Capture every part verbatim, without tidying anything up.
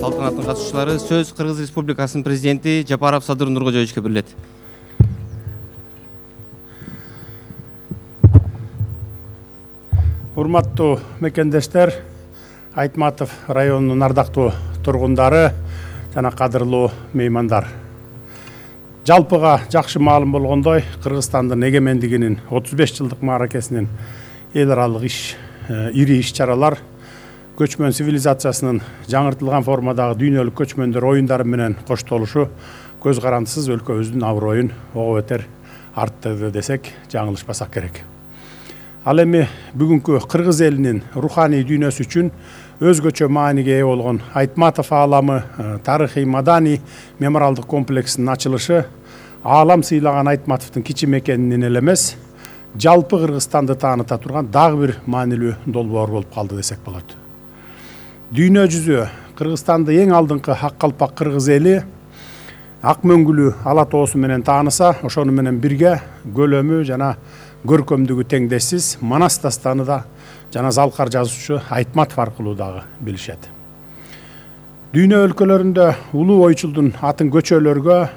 салтанаттын катышуучулары сөз Кыргыз Республикасынын президенти Жапаров Садыр Нуркожоевичке берилет. Урматтуу мекендештер, Айтматов районунун ардактуу тургундары жана кадырлуу меймандар. Жалпыга жакшы маалым болгондой, Кыргызстандын эгемендигинин отуз беш жылдык мааракесинин эл аралык иш, ири иш-чаралар көчмөн цивилизациясынын жаңыртылган формадагы дүйнөлүк көчмөндөр оюндары менен коштолушу көз карандысыз өлкөбүздүн аброюн ого бетер арттырды десек жаңылышпасак керек. Ал эми бүгүнкү кыргыз элинин руханий дүйнөсү үчүн өзгөчө мааниге ээ болгон Айтматов ааламы тарыхый маданий мемориалдык комплексинин ачылышы аалам сыйлаган Айтматовдун кичи мекенинин эле эмес, жалпы Кыргызстанды тааныта турган дагы бир маанилүү долбоор болуп калды десек болот. Дүйнө жүзү Кыргызстанды эң алдыңкы ак калпак кыргыз эли ак мөңгүлүү ала тоосу менен тааныса, ошону менен бирге көлөмү жана көркөмдүгү теңдессиз Манас дастаны да жана Залкар жазуучу Айтматов аркылуу дагы билишет. Дүйнө өлкөлөрүндө улуу ойчулдун атын көчөлөргө,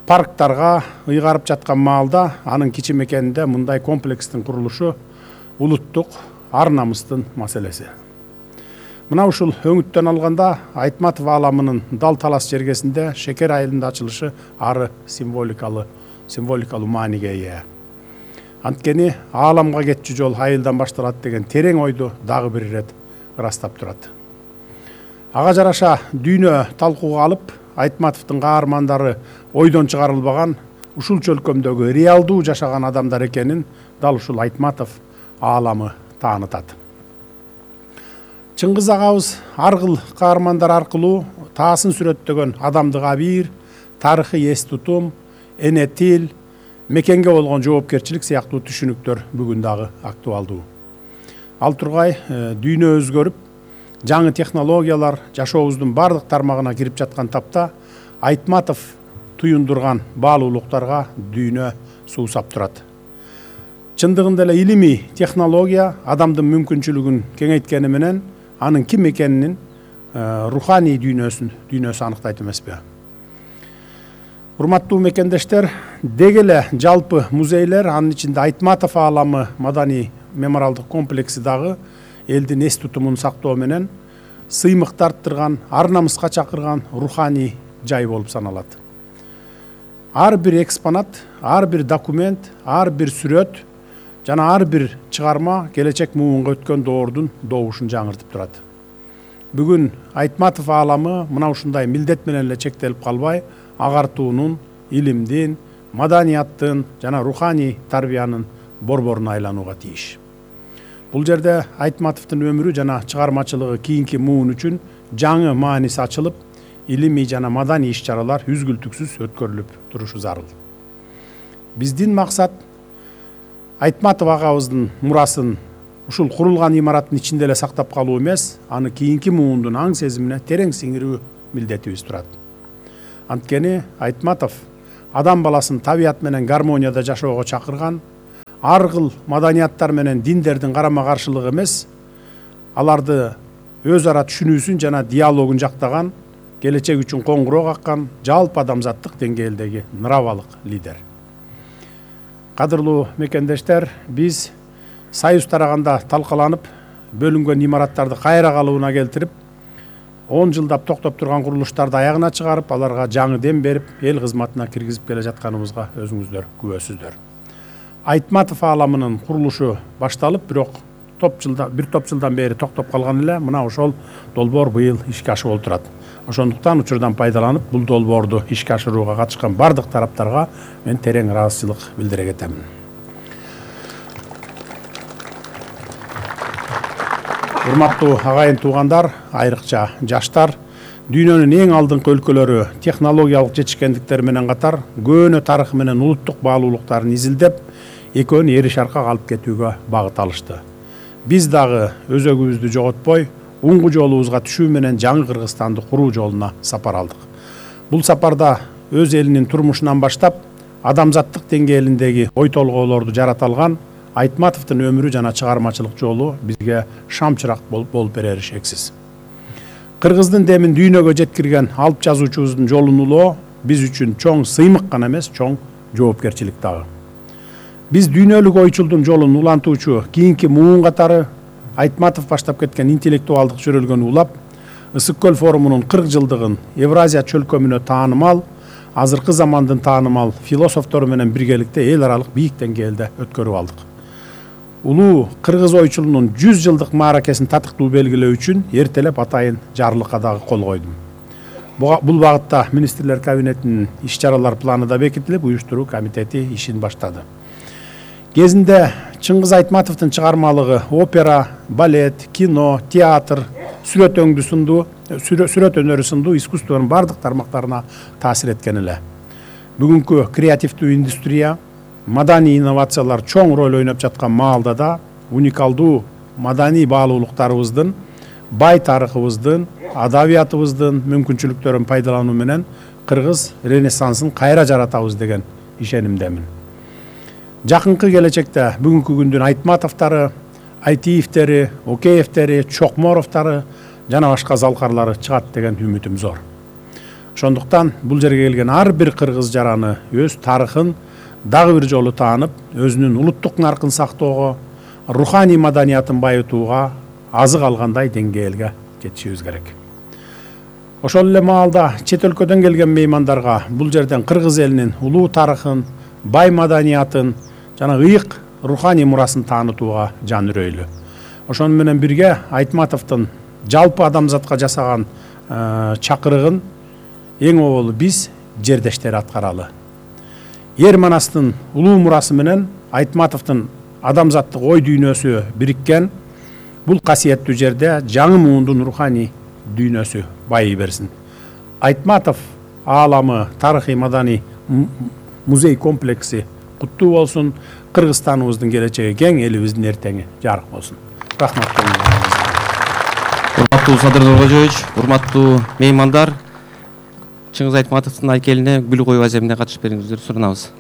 парктарга ыйгарып жаткан маалда анын кичи мекенинде мындай комплекстин курулушу улуттук ар намыстын маселеси. Мына ушул өңүттөн алганда Айтматов ааламынын дал талас жергесинде шекер айылында ачылышы ары символикалуу символикалуу мааниге ээ. Анткени ааламга кетчү жол айылдан башталат деген терең ойду дагы бир ирет ырастап турат. Ага жараша дүйнө талкууга алып, Айтматовдун каармандары ойдон чыгарылбаган, ушул чөлкөмдөгү реалдуу жашаган адамдар экенин дал ушул Айтматов ааламы таанытат. Чыңгыз агабыз ар кыл каармандар аркылуу таасын сүрөттөгөн адамдык абийир, тарыхый эс тутум, эне тил, мекенге болгон жоопкерчилик сыяктуу түшүнүктөр бүгүн дагы актуалдуу. Ал тургай дүйнө өзгөрүп, жаңы технологиялар жашообуздун бардык тармагына кирип жаткан тапта Айтматов туюндурган баалуулуктарга дүйнө суусап турат. Чындыгында эле илимий технология адамдын мүмкүнчүлүгүн кеңейткени менен анын ким экенинин руханий дүйнөсүн дүйнөсү аныктайт эмеспи? Урматтуу мекендештер, деги эле жалпы музейлер, анын ичинде Айтматов ааламы маданий мемориалдык комплекси дагы элдин эс тутумун сактоо менен сыймык тарттырган, ар намыска чакырган руханий жай болуп саналат. Ар бир экспонат, ар бир документ, ар бир сүрөт жана ар бир чыгарма келечек муунга өткөн доордун добушун жаңыртып турат. Бүгүн Айтматов ааламы мына ушундай милдет менен эле чектелип калбай, агартуунун, илимдин, маданияттын жана руханий тарбиянын борборуна айланууга тийиш. Бул жерде Айтматовдун өмүрү жана чыгармачылыгы кийинки муун үчүн жаңы мааниси ачылып, илимий жана маданий иш-чаралар үзгүлтүксүз өткөрүлүп турушу зарыл. Биздин максат Айтматов агабыздын мурасын ушул курулган имараттын ичинде эле сактап калуу эмес, аны кийинки муундун аң сезимине терең сиңирүү милдетибиз турат. Анткени Айтматов адам баласын табият менен гармонияда жашоого чакырган, ар кыл маданияттар менен диндердин карама каршылыгы эмес, аларды өз ара түшүнүүсүн жана диалогун жактаган, келечек үчүн коңгуроо каккан жалпы адамзаттык деңгээлдеги нравалык лидер. Кадырлуу мекендештер, биз союз тараганда талкаланып, бөлүнгөн имараттарды кайра калыбына келтирип, он жылдап токтоп турган курулуштарды аягына чыгарып, аларга жаңы дем берип, эл кызматына киргизип келе жатканыбызга өзүңүздөр күбөсүздөр. Айтматов ааламынын курулушу башталып, бирок топ жылда бир топ жылдан бери токтоп калган эле, мына ошол долбоор быйыл ишке ашып отурат. Ошондуктан учурдан пайдаланып, бул долбоорду ишке ашырууга катышкан бардык тараптарга мен терең ыраазычылык билдире кетемин. Урматтуу агайын туугандар, айрыкча жаштар, дүйнөнүн эң алдыңкы өлкөлөрү технологиялык жетишкендиктери менен катар көөнө тарыхы менен улуттук баалуулуктарын изилдеп, экөөнү эри шаркка алып кетүүгө багыт алышты. Биз дагы өзөгүбүздү жоготпой, уңгу жолубузга түшүү менен жаңы Кыргызстанды куруу жолуна сапар алдык. Бул сапарда өз элинин турмушунан баштап, адамзаттык деңгээлиндеги ой толгоолорду жарата алган Айтматовдун өмүрү жана чыгармачылык жолу бизге шам чырак болуп берери шексиз. Кыргыздын демин дүйнөгө жеткирген алып жазуучубуздун жолун улоо биз үчүн чоң сыймык гана эмес, чоң жоопкерчилик дагы. Биз дүйнөлүк ойчулдун жолун улантуучу кийинки муун катары Айтматов баштап кеткен интеллектуалдык жөрөлгөнү улап, Ысык көл форумунун кырк жылдыгын Евразия чөлкөмүнө таанымал, азыркы замандын таанымал философтору менен биргеликте эл аралык бийик деңгээлде өткөрүп алдык. Улуу кыргыз ойчулунун жүз жылдык мааракесин татыктуу белгилөө үчүн эртелеп атайын жарлыкка дагы кол койдум. Бул багытта министрлер кабинетинин иш-чаралар планы да бекитилип, уюштуруу комитети ишин баштады. Кезинде Чыңгыз Айтматовдун чыгармалыгы опера, балет, кино, театр, сүрөт өңдүү сынду, сүрөт өнөрү сынду искусствонун бардык тармактарына таасир эткен эле. Бүгүнкү креативдүү индустрия, маданий инновациялар чоң роль ойноп жаткан маалда да уникалдуу маданий баалуулуктарыбыздын, бай тарыхыбыздын, адабиятыбыздын мүмкүнчүлүктөрүн пайдалануу менен кыргыз ренессансын кайра жаратабыз деген ишенимдемин. Жакынкы келечекте бүгүнкү күндүн Айтматовдору, Айтиевдери, Океевдери, Чокморовдору жана башка залкарлары чыгат деген үмүтүм зор. Ошондуктан бул жерге келген ар бир кыргыз жараны өз тарыхын дагы бир жолу таанып, өзүнүн улуттук наркын сактоого, руханий маданиятын байытууга азык алгандай деңгээлге жетишибиз керек. Ошол эле маалда чет өлкөдөн келген меймандарга бул жерден кыргыз элинин улуу тарыхын, бай маданиятын жана ыйык руханий мурасын таанытууга жан үрөйлү. Ошону менен бирге Айтматовдун жалпы адамзатка жасаган чакырыгын эң оболу биз жердештери аткаралы. Ер Манастын улуу мурасы менен Айтматовдун адамзаттык ой дүйнөсү бириккен бул касиеттүү жерде жаңы муундун руханий дүйнөсү байый берсин. Айтматов ааламы тарыхый маданий музей комплекси куттуу болсун. Кыргызстаныбыздын келечеги кең, элибиздин эртеңи жарык болсун. Рахмат. Урматтуу Садыр Нуркожоевич, урматтуу меймандар, Чыңгыз Айтматовдун айкелине гүл коюу аземине катышып бериңиздерди сурунабыз.